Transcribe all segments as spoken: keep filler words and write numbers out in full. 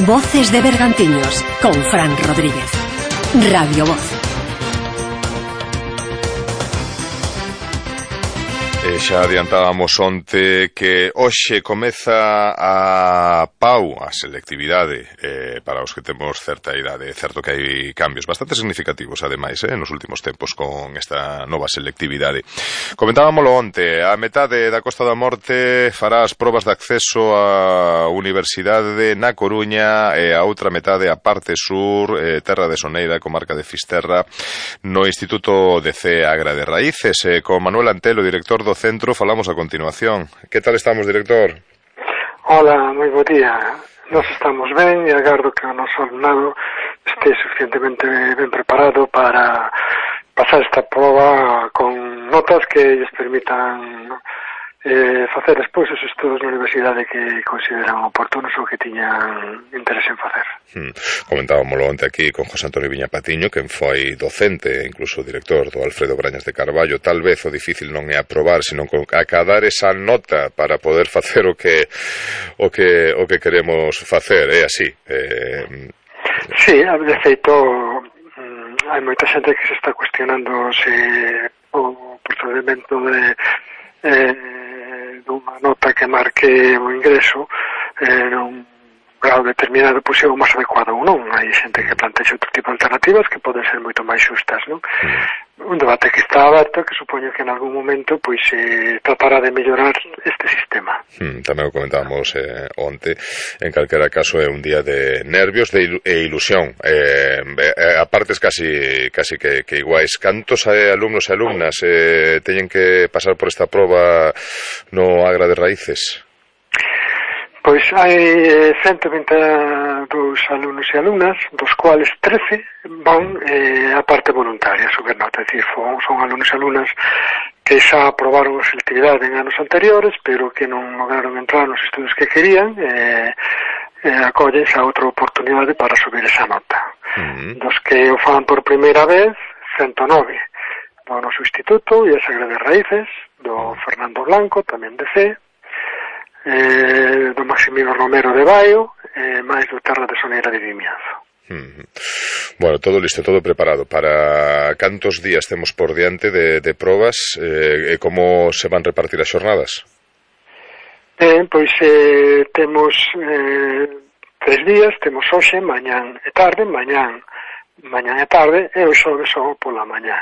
Voces de Bergantiños con Fran Rodríguez. Radio Voz. E xa adiantábamos onte que hoxe comeza a PAU, a selectividade, eh, para os que temos certa idade. É certo que hai cambios bastante significativos, ademais, eh, nos últimos tempos con esta nova selectividade. Comentábamolo onte, a metade da Costa da Morte fará as probas de acceso á Universidade na Coruña e a outra metade a parte sur, eh, terra de Soneira, comarca de Fisterra, no Instituto de C. Agra de Raíces, eh, con Manuel Antelo, director do centro, falamos a continuación. Que tal estamos, director? Hola, moi bo día. Nos estamos ben e agardo que o noso alumnado este suficientemente ben preparado para pasar esta prova con notas que lles permitan eh, facer despois os estudos na universidade que consideran oportunos ou que tiñan interés en facer. Hmm. Comentábamolo onte aquí con José Antonio Viña Patiño, quen foi docente e incluso director do Alfredo Brañas de Carballo. Tal vez o difícil non é aprobar, sino acadar esa nota para poder facer o que o que o que queremos facer. É así. Eh... Sí, de feito hai moita xente que se está cuestionando se o procedimento de eh, dunha nota que marque o ingreso eh, nun grado determinado pois é o máis adecuado ou non. Hai xente que plantexa outro tipo de alternativas que poden ser moito máis xustas, non? Un debate que está aberto, que supoño que en algún momento pois se eh, tratará de mellorar este sistema. Hmm, tamén o comentábamos eh, onte. En calquera caso é un día de nervios de ilu e ilusión, eh, eh, a partes casi casi que, que iguais. Cantos eh, alumnos e alumnas eh, teñen que pasar por esta proba no Agra de Raíces? Pois hai ciento vinte e dous alumnos e alumnas, dos cuales trece van eh, a parte voluntaria, subir nota, é dicir, son, son alumnos e alumnas que xa aprobaron a selectividade en anos anteriores, pero que non lograron entrar nos estudos que querían, e eh, eh, acollen xa outra oportunidade para subir esa nota. Uh-huh. Dos que o fan por primeira vez, ciento nove do noso instituto, e a Agra de Raíces, do Fernando Blanco, tamén de C, Eh, do Maximino Romero de Baio e eh, máis do Terra de Soneira de Vimianzo. Mm. Bueno, todo listo, todo preparado. Para cantos días temos por diante de, de probas eh, e como se van repartir as xornadas? Ben, pois eh, temos eh, tres días, temos hoxe, mañán e tarde, mañán, mañán e tarde e o xoves só pola mañá.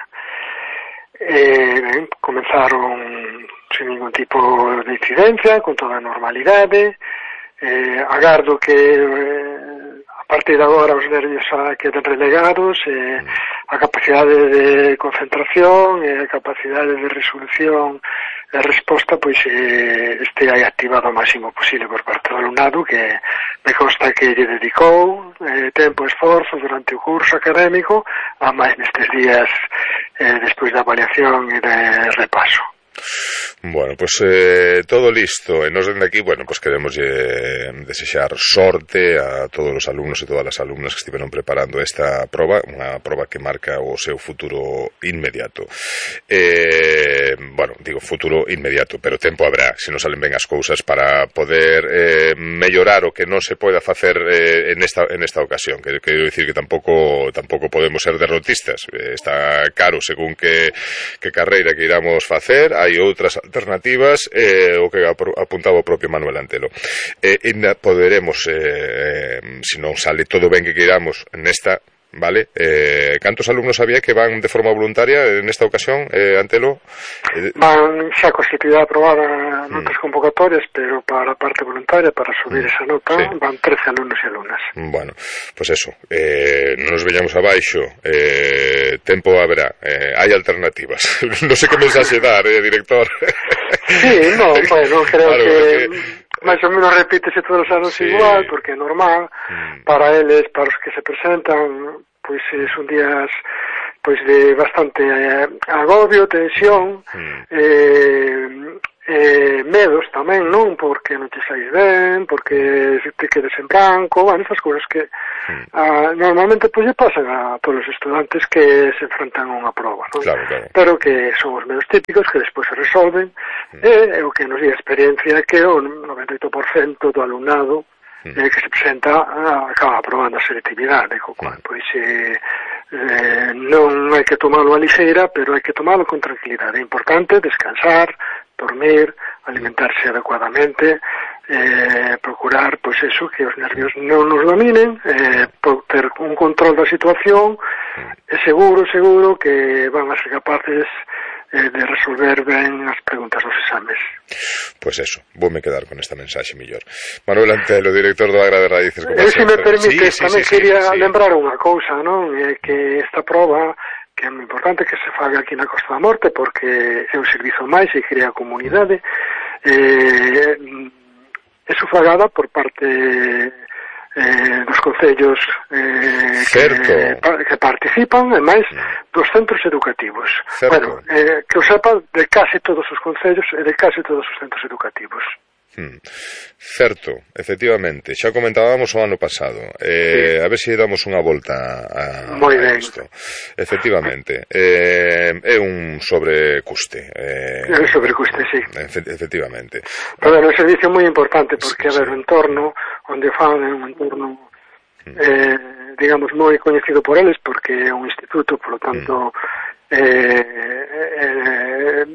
Eh, ben, comenzaron sin ningún tipo de incidencia, con toda a normalidade. Eh, agardo que eh, a partir de agora os nervios a queden relegados, eh, a capacidade de concentración e a capacidade de resolución e resposta pois eh, este aí activado ao máximo posible por parte do alumnado, que me consta que lle dedicou eh, tempo e esforzo durante o curso académico, a máis nestes días eh, despois da avaliación e de repaso. Bueno, pues eh, todo listo. E nos dende aquí, bueno, pues queremos eh, desexar sorte a todos os alumnos e todas as alumnas que estiveron preparando esta proba, unha proba que marca o seu futuro inmediato. Eh, bueno, digo futuro inmediato, pero tempo habrá, se non salen ben as cousas, para poder eh, mellorar o que non se poida facer eh, en esta en esta ocasión. Que quero dicir que tampouco tampouco podemos ser derrotistas. Eh, está caro según que que carreira que iramos facer. Hai outras alternativas, eh, o que apuntaba o propio Manuel Antelo. Eh, ainda poderemos, eh, se non sale todo ben que queiramos nesta, vale? Eh, cantos alumnos había que van de forma voluntaria en esta ocasión, eh, Antelo? Eh, van xa con selectividade aprobada notas mm. convocatorias, pero para a parte voluntaria, para subir mm. esa nota, sí. Van trece alumnos e alumnas. Bueno, pues eso, eh, non nos veñamos abaixo, eh, tempo haberá, eh, hai alternativas. Non sei que mensaxe dar, eh, director. Sí, no, bueno, creo claro, que... que... máis ou menos repítese todos os anos, sí. Igual, porque é normal, mm. para eles, para os que se presentan, pois son días pois de bastante eh, agobio, tensión, mm. eh, eh, medos tamén, non? Porque non te saís ben, porque te quedes en branco, bueno, esas cousas que mm. ah, normalmente pois lle pasan a todos os estudantes que se enfrentan a unha prova, non? Claro, claro. Pero que son os medos típicos que despois se resolven, mm. e é o que nos di a experiencia que o noventa e oito por cento do alumnado mm. eh, que se presenta acaba aprobando a selectividade, co cual, mm. pois, eh, eh, non hai que tomalo a lixeira, pero hai que tomalo con tranquilidade. É importante descansar, dormir, alimentarse adecuadamente, eh, procurar, pois eso, que os nervios non nos dominen, eh, ter un control da situación, e seguro, seguro que van a ser capaces eh, de resolver ben as preguntas dos exames. Pois pues eso, voume quedar con esta mensaxe mellor. Manuel Antelo, director do Agra de Raíces. Eh, se me permite, sí, tamén sí, sí, quería sí, sí. lembrar unha cousa, non? Eh, que esta proba, que é moi importante que se faga aquí na Costa da Morte, porque é un servizo máis e crea comunidade, eh, é sufragada por parte eh, dos concellos eh, que, que participan, e máis dos centros educativos. Certo. Bueno, eh, que o sepa de case todos os concellos e de case todos os centros educativos. Hmm. Certo, efectivamente, xa comentábamos o ano pasado, eh, sí. A ver se damos unha volta a, a isto. Efectivamente, eh, é un sobrecuste. Eh, é un sobrecuste, sí. Efe, efectivamente. Pero é un servicio moi importante, porque, sí, a ver, sí. O entorno onde fan é un entorno, hmm. eh, digamos, moi coñecido por eles, porque é un instituto, por lo tanto, hmm. eh, eh,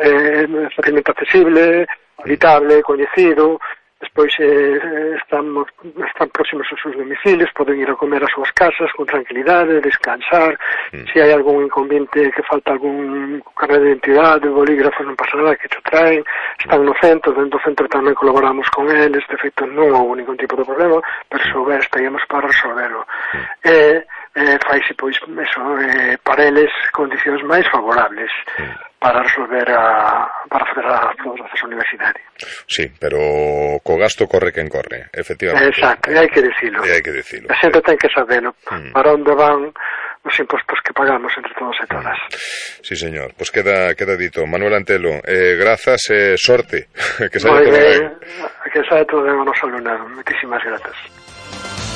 eh, é facilmente accesible, habitable, coñecido, despois eh, estamos, están próximos aos seus domicilios, poden ir a comer ás súas casas con tranquilidade, descansar, mm. se hai algún inconveniente que falta algún carnet de identidade, bolígrafo, non pasa nada, que cho traen, están no centro, dentro do centro tamén colaboramos con eles, de feito non houve ningún tipo de problema, pero se houver estaríamos para resolverlo. Mm. Eh, eh, faise, pois, eso, eh, para eles condicións máis favorables. Mm. para resolver a, para fazer a, o acceso á universidade. Sí, pero co gasto corre quen corre, efectivamente. Exacto, e hai que dicilo. E hai que dicilo. A xente ten que sabelo, mm. para onde van os impostos que pagamos entre todos e todas. Sí, señor. Pois pues queda queda dito. Manuel Antelo, eh, grazas e eh, sorte. Que saia todo ben. Que saia todo ben o noso alumnado. Moitísimas grazas.